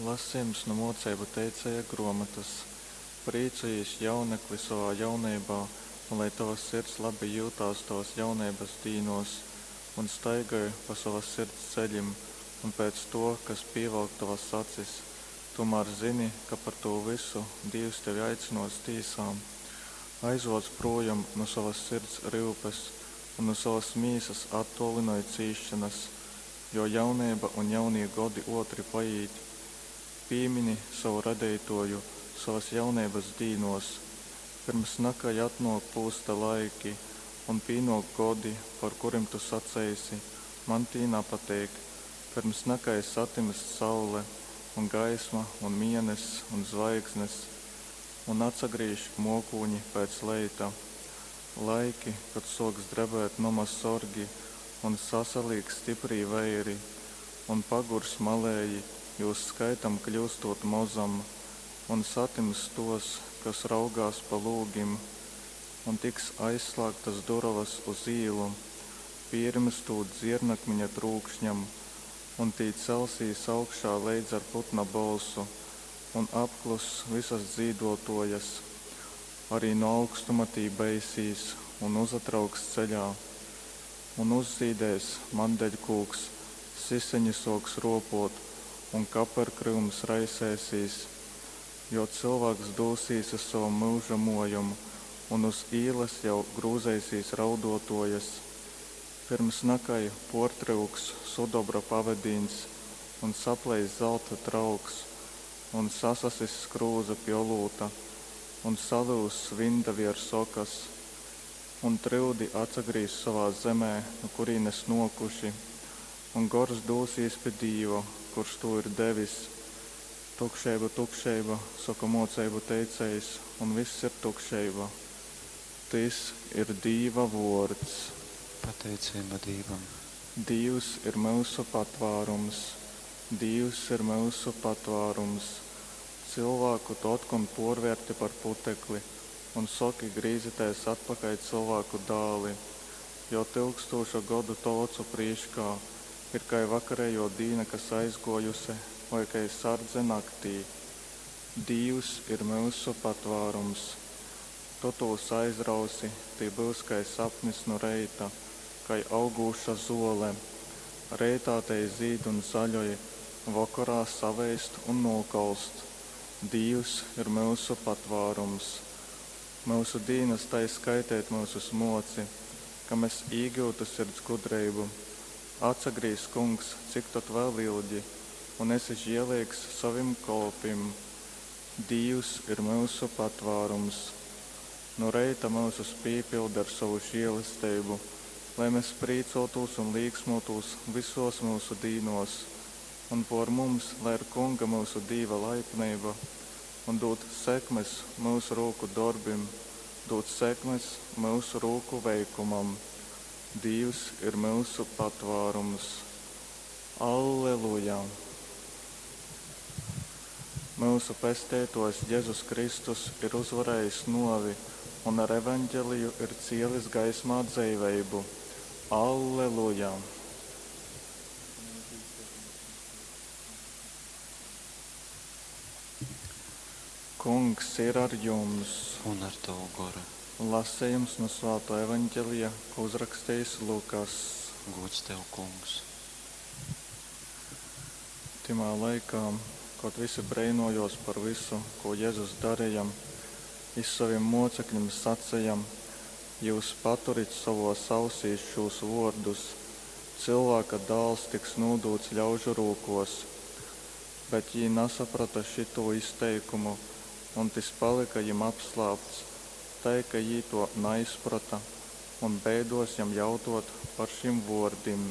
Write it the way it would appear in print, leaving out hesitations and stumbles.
Lasejums nu Mōceibu teicēja grōmotas. Prīcojīs, jaunekli, sovā jauneibā, un lai tova sirds labi jyutās tovas jauneibas dīnōs, un staigoj pa sovas sirds ceļim un pēc tō, kas pīvalk tovas acis, tūmār zyni, ka par tū vysu Dīvs tevi aicynōs tīsā. Aizvōc prūjom nu sovas sirds ryupes un nu sovas mīsas attōlynoj cīsšonas, jo jauneiba un jaunī godi ōtri paīt. Pīmini sovu Radeitōju sovas jauneibas dīnōs, pyrms nakai atnōk pūsta laiki un pīnōk godi, par kurim tu saceisi, Man tī napateik, pyrms nakai satymst saule, un gaisma, un mieness, un zvaigznes, un atsagrīž mōkūņi pēc leita. Laiki, kod sōks drebēt noma sorgi un sasalīks styprī veiri, un pagurs malēji, jūs skaitam kļyustūt mozam, un satimss tōs, kas raugās pa lūgim, un tiks aizslāgtas durovas uz īlu, pīrymstūt dziernakmiņa trūkšņam, un tī celsīs augšā leidz ar putna bolsu, un apkluss vysas dzīdōtōjas. Ari nu augstuma tī beisīs un uzatrauks ceļā. Un uzzīdēs mandeļkūks, siseņi sōks rōpōt un kaperkryums raisēsīs. Jo cylvāks dūsīs uz sovom myuža mōjom, un uz īlas jau grūzeisīs raudōtōjas. Pyrms nakai pōrtryuks sudobra pavedīņs un sapleiss zalta trauks, un sasasiss krūze pi olūta, un salyuzs vinda viers okas. Un tryudi atsagrīzs sovā zemē, nu kurīnes nōkuši, un gors dūsīs pi Dīva, kurs tū ir devis. Tukšeiba, tukšeiba, soka mōceibu teicējs, un vyss ir tukšeiba. Tys ir Dīva vōrds. Pateiceiba Dīvam. Dīvs ir myusu patvārums. Dīvs ir myusu patvārums. Cylvāku tu otkon pōrvērti par putekli un soki, Grīzitēs atpakaļ, cylvāku dāli! Jo tyukstūša godu tovu ocu prīškā ir kai vakarejō dīna, kas aizgōjuse, voi kai sardze naktī. Dīvs ir myusu patvārums. Tu tūs aizrausi, tī byus kai sapnis nu reita, kai augūša zōle. Reitā tei zīd un zaļoj, vokorā saveist un nūkolst. Dīvs ir myusu patvārums. Myusu dīnas tai skaiteit myusus mōci, ka mes īgyutu sirds gudreibu. Atsagrīz, Kungs, cik tod vēl ilgi, un esi žieleigs sovim kolpim. Dīvs ir myusu patvārums. Nu reita myusus pīpyldi ar sovu žēlesteibu, lai mes prīcōtūs un līksmōtūs vysōs myusu dīnōs, un pōr mums lai ir Kunga myusu Dīva laipneiba, un dūd sekmes myusu rūku dorbim, dūd sekmes myusu rūku veikumam. Dīvs ir myusu patvārums. Alleluja! Myusu Pesteitōjs Jezus Kristus ir uzvarējis nōvi un ar Evangeliju ir cielis gaismā dzeiveibu. Alleluja! Kungs ir ar jums! Un ar tavu goru. Lasejums nu Svātō Evangelija, ko uzrakstījis Lukas. Gods tev, Kungs. Tymā laikā, kod visi breinōjōs par vysu, ko Jezus dareja, jys sovim mōceklim saceja, Jyus paturit sovōs ausīs šūs vōrdus, Cylvāka Dāls tiks nūdūts ļaužu rūkōs. Bet jī nasaprota šytū izteikumu, un tys palyka jim apslāpts, tai ka jī tō naizprota un beidōs jam jautōt par šim vōrdim.